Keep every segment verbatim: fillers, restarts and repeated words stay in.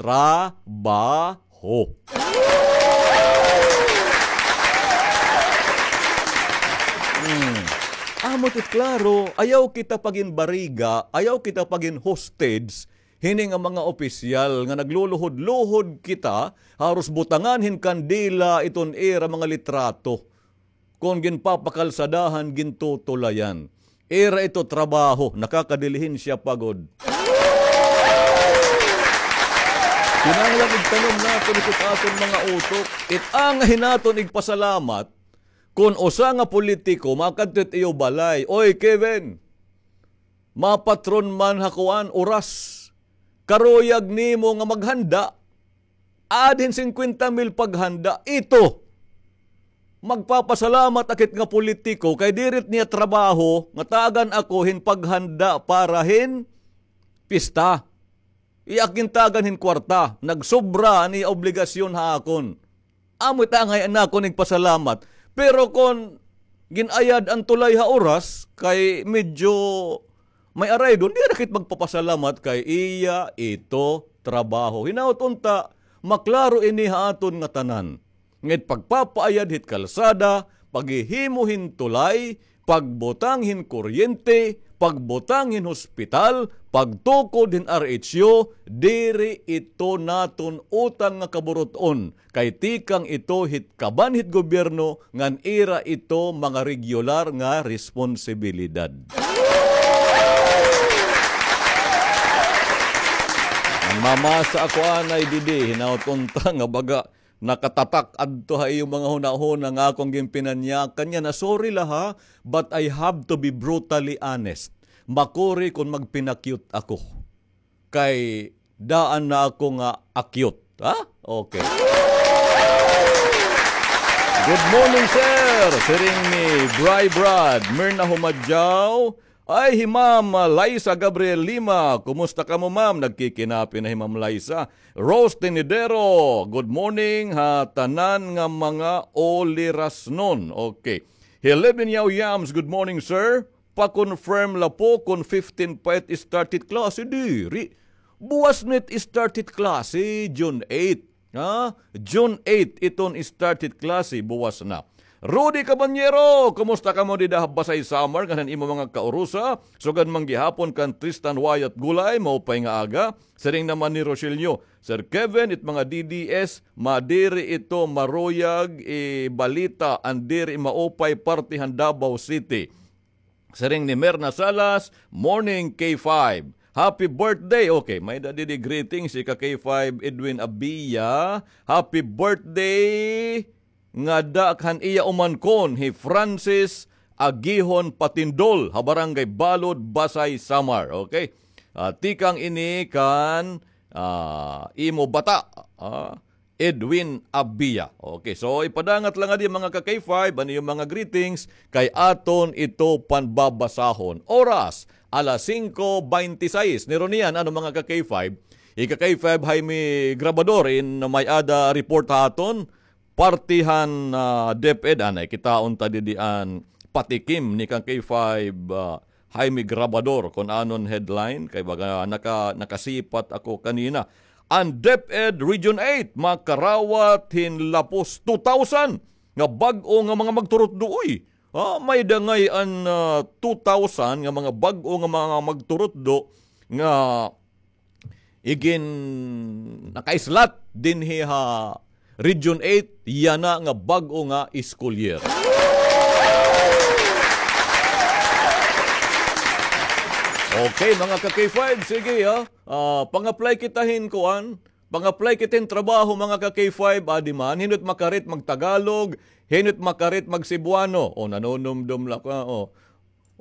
trabaho. Hmm. Amo it klaro, ayaw kita paginbariga, ayaw kita pagin-hostage hini nga mga opisyal nga nagluluhod-luhod kita, haros butangan hin kandila iton ira mga litrato. Kon ginpapakalsadahan, gintutulayan. Ira ito trabaho, nakakadilihin siya pagod. Kinahanglan igtanom naton ito sa aton mga utok. It angay naton igpasalamat kon usa nga politiko makadto it iyo balay. Oy, Kevin, mapatron man ha kuan, oras. Karuyag nimo nga maghanda. Add hin singkwenta mil paghanda. Ito. Magpapasalamat ak hit nga politiko kay diri it niya trabaho nga tagan ako hin paghanda para hin pista. Iya ak gintagan hin kwarta. Nagsobra an iya obligasyon ha akon. Amo it angay nakon igpasalamat. Pero kon gin-ayad an tulay ha oras, kay medyo may araydon, diri na kita magpapasalamat kay iya ito trabaho. Hinaot unta, maklaro ini ha aton ngatanan. Nga it pagpapaayad hit kalsada, paghihimo hin tulay, pagbutang hin kuryente, pagbutang hin hospital, pagtukod hin R H U, diri ito naton utang nga kaburut-on, kay tikang ito hit kaban hit gobyerno ngan ira ito mga regular nga responsibilidad. Nagmamasa ako anay didi, hinaot unta nga baga nakatatak adto ha iyo mga hunahuna nga akon ginpinanyakan niya na, sorry la ha, but I have to be brutally honest. Makuri kon magpinakyut ako. Kay daan na ako nga akyut. Ha? Okay. Good morning, sir. Siring ni Bray Brad, Mirna Humadyaw, ay, hi Ma'am, ah, Liza Gabriel Lima. Kumusta kamo, ma'am? Nagkikinapi na hi Ma'am Liza. Rose Tenedero, good morning ha tanan nga mga ulirasnon. Okay. Hi Levin Yao Yams, good morning, sir. Pa-confirm la po kon fifteen pa it start hit klase. Diri. Buwas na it start hit klase, June eight. Ha? June eight, iton start hit klase, buwas na. Rudy Cabanyero, kumusta kamo dida ha Basay, Samar, ngan han imo mga kaurusa? Sugad man gihapon kan Tristan Wyatt Gulay, maupay nga aga. Siring naman ni Rogelio, Sir Kevin, it mga D D S, madiri ito maruyag ibalita an diri maupay parte han Davao City. Siring ni Merna Salas, morning K five. Happy birthday. Okay, may-ada didi greetings, ika K five Edwin Abia. Happy birthday ngada kan iya umangkon, hi Francis Agihon Patindol, ha Barangay Balod, Basay, Samar. Okay? Ah, tikang ini kan, ah, imo bata. Ah, Edwin Abia. Okay, so ipadangat la ngadi, mga ka-K five, an iyo mga greetings, kay aton ito panbabasahon. Oras, alas singko beintisais. Nirunian, ano, mga ka-K five? Ika-K five, Jaime Grabador, in may-ada report ha aton, parte han, ah, DepEd, anay, kitaon ta didi an patikim ni ka-K five, ah, Jaime Grabador, kon anon headline, kay baga naka-, nakasipat ako kanina. An DepEd Region eight makarawat hin lapos two thousand nga bag-o nga mga magturutdo, uy. Ah, may-ada ngay-an, ah, two thousand nga mga bag-o nga mga magturutdo nga igin nakaislat dinhi ha Region eight, yana nga bag-o nga school year. Okay, mga ka-K five, sige, ha. Ah, pang-apply kita hin kuan, pang-apply kita hin trabaho, mga ka-K five, adi man, hin-o it makarit mag-Tagalog, hin-o it makarit mag-Cebuano. O, nanunumdom la ka, o.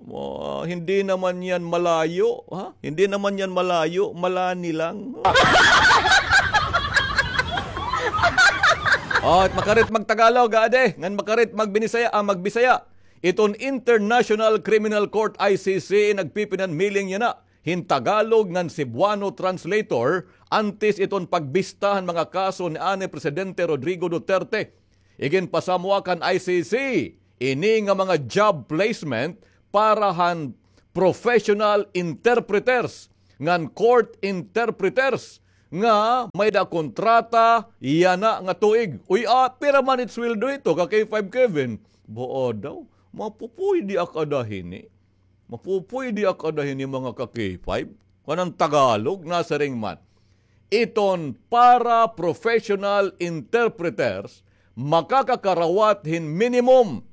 Ah, hindi naman yan malayo, ha? Hindi naman yan malayo, malani lang. O, it makarit mag-Tagalog, adi, ngan makarit mag-Binisaya, ah, mag-Bisaya. Iton International Criminal Court, I C C, nagpipinanmiling yana hin Tagalog ngan Cebuano translator antes iton pagbista han mga kaso ni anay Presidente Rodrigo Duterte. Iginpasamwak han I C C ini nga mga job placement para han professional interpreters ngan court interpreters nga may-ada kontrata yana nga tuig. Uy, ah, pira man it sweldo hito, ka K five Kevin? Baa daw, mapupuydi ak ada hini. Mapupuydi ak ada hini, mga ka K five. Kanan Tagalog, nasiring man, iton para professional interpreters, makakakarawat hin minimum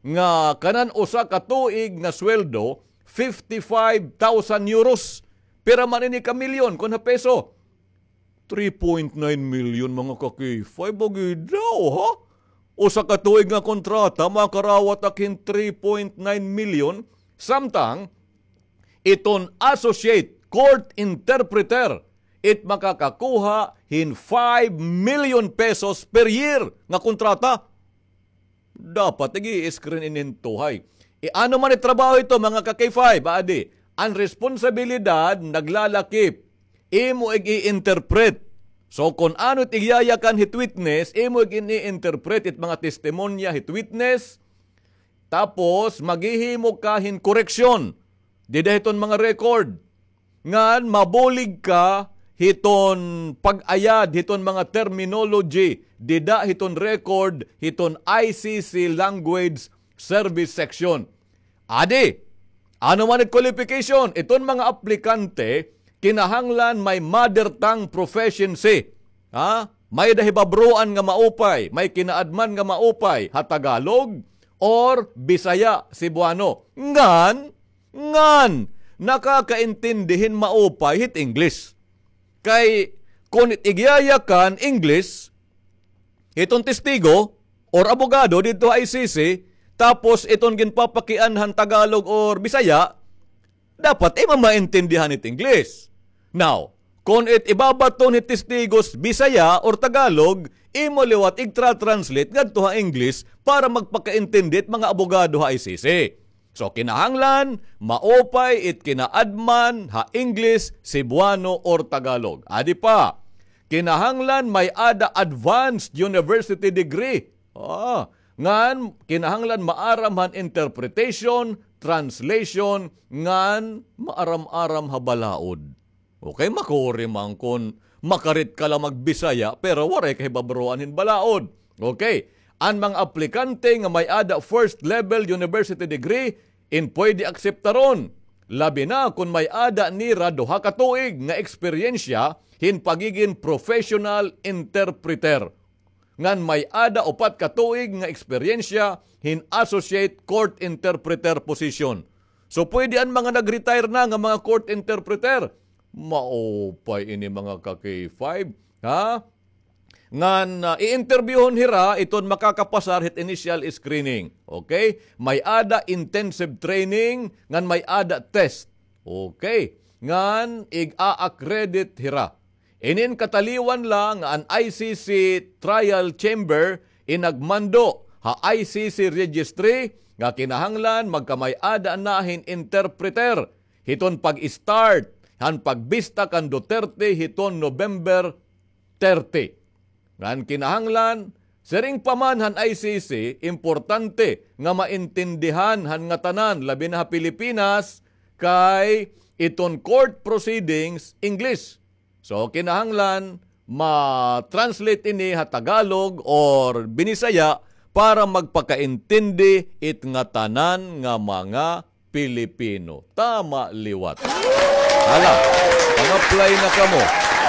nga kanan usa ka tuig nga sweldo, fifty-five thousand euros. Pira man ini ka milyon kon ha peso? Three point nine million, mga ka-K five, agi daw, ha? Usa ka tuig nga kontrata, makarawat ak hin three point nine million, samtang iton associate court interpreter, it makakakuha hin five million pesos per year nga kontrata. Dapat ig-i-screen ini hin tuhay. E, ano man it trabaho hito, mga ka-K five, adi, an responsibilidad naglalakip, imo ig-i-interpret. So, kon ano it igyayakan hit witness, imo ig-i-interpret it mga testimonya hit witness, tapos maghihimo ka hin koreksyon dida hiton mga record. Ngan mabulig ka hiton pag-ayad hiton mga terminology dida hiton record hiton I C C Language Service Section. Adi, ano man it qualification, iton mga aplikante kinahanglan may mother tongue proficiency. Ha? May-ada hibabroan nga maupay, may kinaadman nga maupay ha Tagalog or Bisaya, Cebuano. Ngan, ngan, nakakaintindi hin maupay hit English. Kay kon it igyayakan English hiton testigo or abogado didto ha I C C, tapos iton ginpapakianhan Tagalog or Bisaya, dapat imo maintindihan it English. Now, kon it ibabaton hit testigos Bisaya or Tagalog, imo liwat igtra-translate ngadto ha English para magpakaintindi it mga abogado ha I C C. So, kinahanglan maupay it kinaadman ha English, Cebuano, or Tagalog. Adi pa, kinahanglan may-ada advanced university degree. Ah, ngan kinahanglan maaram han interpretation, translation, ngan maaram-aram ha balaod. Okay, makuri man kon makarit ka la magbisaya, pero waray ka hibabroan hin balaod. Okay, an mga aplikante nga may-ada first level university degree, in pwede akseptaron. Labi na kon may-ada nira duha ka tuig nga eksperyensya hin pagigin professional interpreter. Ngan may-ada upat ka tuig nga eksperyensya hin associate court interpreter position. So, pwede an mga nag-retire na nga mga court interpreter. Maupay ini, mga ka-K five. Ha? Ngan, ah, i-interviewhon hira iton makakapasar hit initial screening. Okay? May-ada intensive training, ngan may-ada test. Okay? Ngan, ig-a-accredit hira. Inin kataliwan la nga an I C C Trial Chamber in nagmando ha I C C Registry nga kinahanglan magkamay-ada na hin interpreter hiton pag-start han pagbista kan Duterte hiton November thirty. Ngan kinahanglan, siring pa man han I C C, importante nga maintindihan han ngatanan, labi na ha Pilipinas, kay iton court proceedings, English. So, kinahanglan ma-translate ini ha Tagalog or Binisaya para magpakaintindi it ngatanan nga mga Pilipino. Tama liwat. Hala, pang-apply na kamo.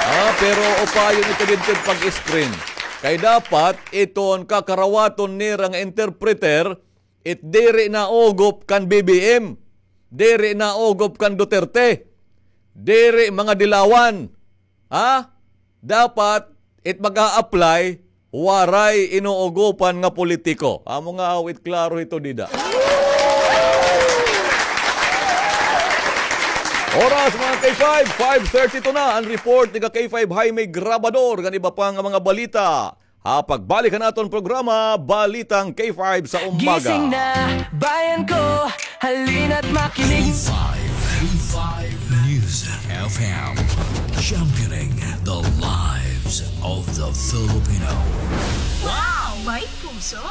Ah, pero upayon ito didto pag-screen. Kay dapat iton kakarawaton nira nga interpreter, it diri naugop kan B B M, diri naugop kan Duterte, diri mga dilawan. Ha? Dapat it mag-a-apply, waray inuugopan nga politiko. Amo nga aw it klaro hito dida. Oras, mga K five, five thirty-two na. An report ni ka K five Jaime Grabador, ngan iba pa nga mga balita ha pagbalik han aton programa, Balitang K five sa Umaga. Gising na, bayan ko, halina't makinig. K five, K five News F M, championing the lives of the Filipino. Wow! May puso!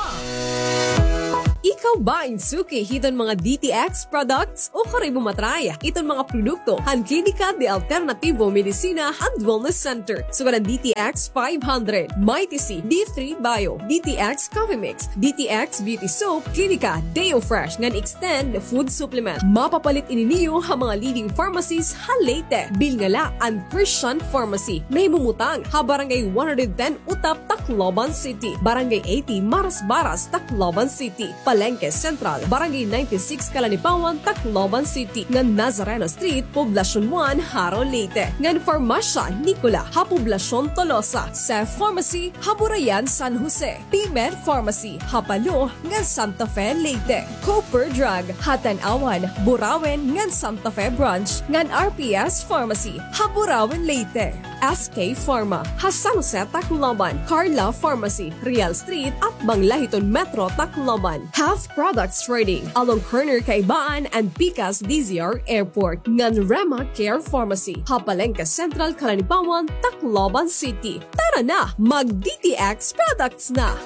Ikaw ba in suki hiton mga D T X products? Ukari mo matry iton mga produkto han Klinika de Alternativo Medicina and Wellness Center. Sugad an D T X five hundred, Mighty C, D three Bio, D T X Coffee Mix, D T X Beauty Soap, Klinika Deo Fresh ngan Extend Food Supplement. Mapapalit ini niyo ha mga leading pharmacies ha Leyte. Bilnga la an Christian Pharmacy, nahimumutang ha Barangay one hundred ten Utap, Tacloban City, Barangay eighty Marasbaras, Tacloban City, Palengke Central, Barangay ninety-six Calanipawan, Tacloban City, ngan Nazareno Street, Poblacion one, Jaro, Leyte, ngan Farmasya Nicola ha Poblacion Tolosa, Cef Pharmacy ha Burayan, San Jose, P-Med Pharmacy ha Palo ngan Santa Fe, Leyte, Cooper Drug ha Tanauan, Burauen ngan Santa Fe Branch, ngan R P S Pharmacy ha Burauen, Leyte, S K Pharma ha San Jose, Tacloban, Carla Pharmacy, Real Street, atbang la hiton Metro Tacloban, Health Products Trading along corner Kaibaan and Pikas D Z R Airport, ngan Rema Care Pharmacy ha Palengke Central, Calanipawan, Tacloban City. Tara na, mag D T X products na!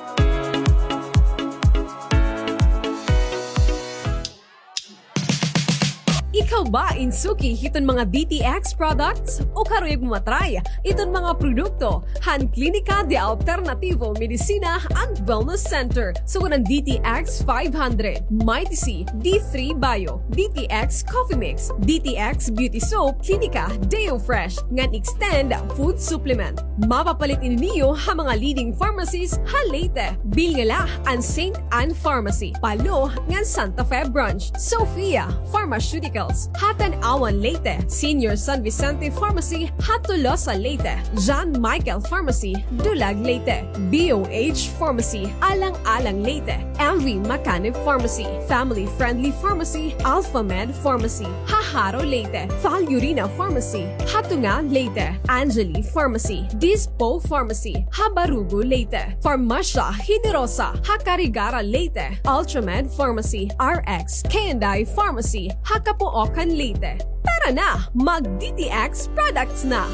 Ikaw ba in suki hiton mga D T X products? Ukari mo matry iton mga produkto han Klinika de Alternativo Medicina and Wellness Center. Sugad an D T X five hundred, Mighty C, D three Bio, D T X Coffee Mix, D T X Beauty Soap, Klinika Deo Fresh, ngan Extend Food Supplement. Mapapalit ini niyo ha mga leading pharmacies ha Leyte. Bilnga la an Saint Anne Pharmacy, Palo, ngan Santa Fe Branch, Sophia Pharmaceuticals ha Tanauan, Leyte, Senior San Vicente Pharmacy ha Tolosa, Leyte, John Michael Pharmacy, Dulag, Leyte, B O H Pharmacy, Alang-alang, Leyte, M V Macanib Pharmacy, Family Friendly Pharmacy, Alpha Med Pharmacy ha Jaro, Leyte, Val Urina Pharmacy ha Tunga, Leyte, Angeli Pharmacy, Dispo Pharmacy ha Barugo, Leyte, Farmasya Generosa ha Carigara, Leyte, Ultramed Pharmacy, R X K and I Pharmacy ha Capoocan, Leyte. Tara na, mag D T X products na!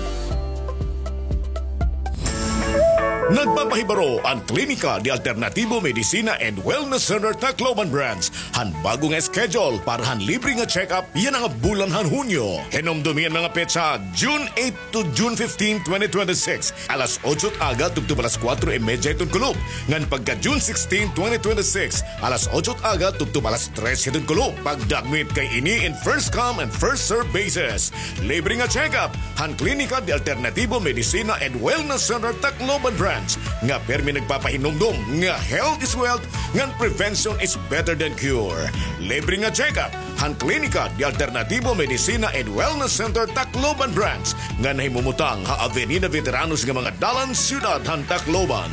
Nagpapahibaro an Klinika de Alternativo Medicina and Wellness Center Tacloban Branch han bag-o nga schedule para han libre nga check-up yana nga bulan han Hunyo. Hinumdomi an mga petsa, June eight to June fifteen, twenty twenty-six, alas otso it aga tubtob alas kuwatro y medya hiton kulop, ngan pagka June sixteen, twenty twenty-six, alas otso it aga tubtob alas tres hiton kulop. Pagdagmit kay ini in first come and first serve basis. Libre nga check-up han Klinika de Alternativo Medicina and Wellness Center Tacloban Branch, nga pirmi nagpapahinumdom nga health is wealth ngan prevention is better than cure. Libre nga check-up han Klinika de Alternativo Medicina and Wellness Center Tacloban Branch, nga nahimumutang ha Avenida Veteranos nga mga dalan, siyudad han Tacloban.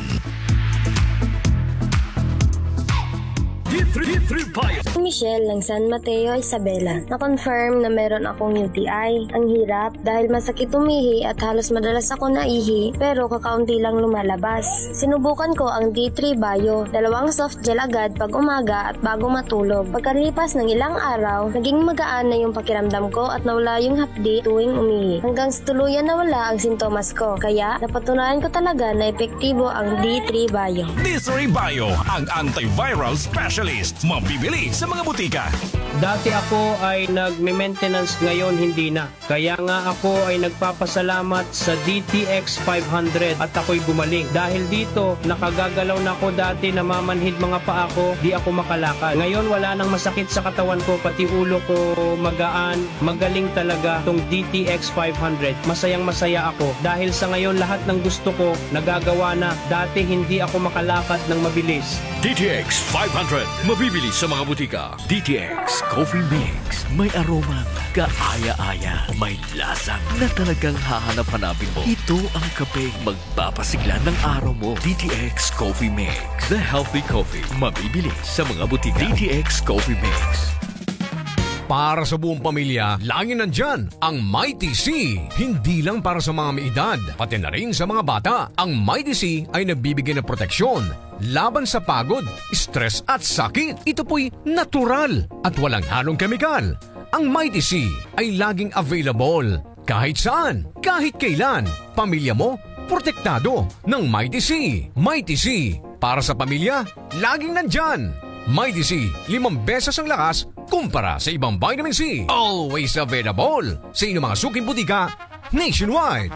D three, D three Bio. Michelle ng San Mateo, Isabela. Na-confirm na meron akong U T I. Ang hirap dahil masakit umihi at halos madalas ako naihi, pero kakaunti lang lumalabas. Sinubukan ko ang D three Bio, dalawang soft gel agad pag umaga at bago matulog. Pagkalipas ng ilang araw, naging magaan na yung pakiramdam ko at nawala yung hapdi tuwing umihi. Hanggang sa tuluyan nawala ang sintomas ko. Kaya, napatunayan ko talaga na epektibo ang D three Bio. D three Bio, ang antiviral specialist. Mabibili sa mga butika. Dati ako ay nagme-maintenance, ngayon hindi na. Kaya nga ako ay nagpapasalamat sa D T X five hundred at ako'y gumaling. Dahil dito, nakagagalaw na ako. Dati namamanhid mga paa ko, di ako makalakad. Ngayon wala nang masakit sa katawan ko, pati ulo ko magaan, magaling talaga tong D T X five hundred. Masayang-masaya ako dahil sa ngayon lahat ng gusto ko nagagawa na. Dati hindi ako makalakad ng mabilis. D T X five hundred, mabibili sa mga butika. D T X Coffee Mix. May aromang kaaya-aya. May lasa na talagang hahanap-hanapin mo. Ito ang kapeng magpapasigla ng araw mo. D T X Coffee Mix. The healthy coffee. Mabibili sa mga butika. D T X Coffee Mix. Para sa buong pamilya, laging nandiyan ang Mighty C. Hindi lang para sa mga may edad, pati na rin sa mga bata. Ang Mighty C ay nagbibigay ng proteksyon laban sa pagod, stress at sakit. Ito po'y natural at walang halong kemikal. Ang Mighty C ay laging available kahit saan, kahit kailan. Pamilya mo, protektado ng Mighty C. Mighty C, para sa pamilya, laging nandyan. Mighty C, limang beses ang lakas kumpara sa ibang vitamin C. Always available sa inyong mga suking butika nationwide.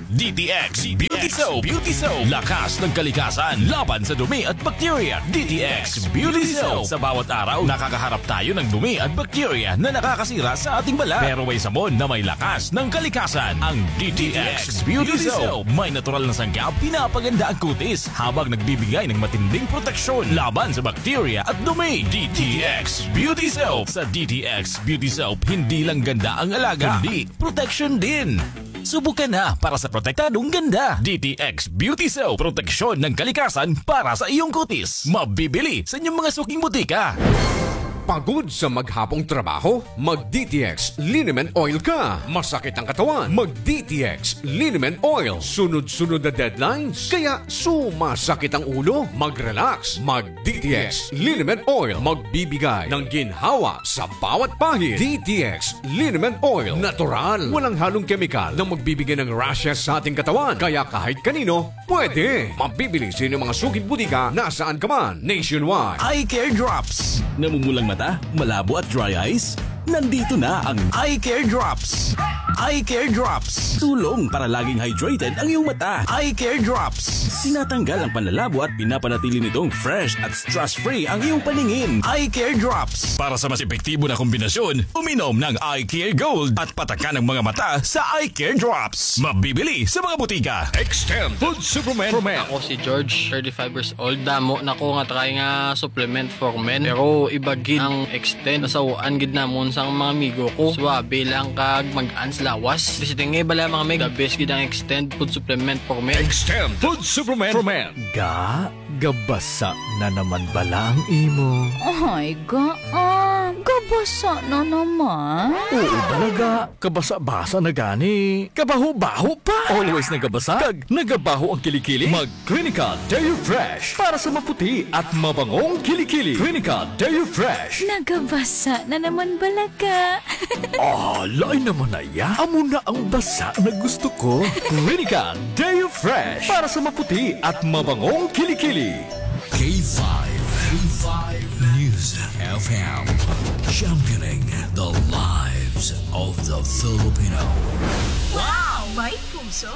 D T X Beauty Soap. Beauty Soap. Lakas ng kalikasan laban sa dumi at bakterya. D T X Beauty Soap. Sa bawat araw, nakakaharap tayo ng dumi at bakterya na nakakasira sa ating balat. Pero may sabon na may lakas ng kalikasan. Ang D T X Beauty Soap. May natural na sangkap, pinapaganda ang kutis habang nagbibigay ng matinding proteksyon laban sa bakterya at dumi. D T X Beauty Soap. Sa D T X Beauty Soap, hindi lang ganda ang alaga, kundi protection din. Subukan na para sa protektadong ganda. D T X Beauty Soap, proteksyon ng kalikasan para sa iyong kutis. Mabibili sa inyong mga suking butika. Pagod sa maghapong trabaho? Mag D T X Liniment Oil ka. Masakit ang katawan? Mag D T X Liniment Oil. Sunod-sunod na deadlines? Kaya sumasakit ang ulo? Mag-relax. Mag D T X Liniment Oil. Magbibigay ng ginhawa sa bawat pahid. D T X Liniment Oil. Natural. Walang halong kemikal na magbibigay ng rashes sa ating katawan. Kaya kahit kanino, pwede. Mabibili sa inyong mga suking butika nasaan ka man, nationwide. Eye Care Drops. Namumulang mata, malabo at dry eyes? Nandito na ang Eye Care Drops. Eye Care Drops. Tulong para laging hydrated ang iyong mata. Eye Care Drops. Tinatanggal ang panlalabo at pinapanatili nitong fresh at stress-free ang iyong paningin. Eye Care Drops. Para sa mas epektibo na kombinasyon, uminom ng Eye Care Gold at patakan ang mga mata sa Eye Care Drops. Mabibili sa mga butika. Extend Food Supplement. Ako si George, thirty-five years old. Damo na ko nga try nga supplement for men. Pero iba gid ang Extend. Nasaw-an gid namon sang mga amigo ko. Suabe lang kag mag-ans lawas. Basta nga bala mga meg, the best gid ang Extend Food Supplement for Men. Extend Food Supplement for Men. Ga, gabasa na naman bala ang imo? Ay, ga, ah, gabasa na naman. Oo bala, ga. Kabasa-basa na gani. Kabaho-baho pa. Always nagabasa kag nagabaho ang kilikili? Mag Clinical Deo Fresh para sa maputi at mabangong kilikili. Clinical Deo Fresh. Nagabasa na naman bala, ga. Ah, lain naman na iya. Amo na ang basa na gusto ko. Clinical Deo Fresh para sa maputi at mabangong kilikili. K five, K five News F M, championing the lives of the Filipino. Wow! May puso!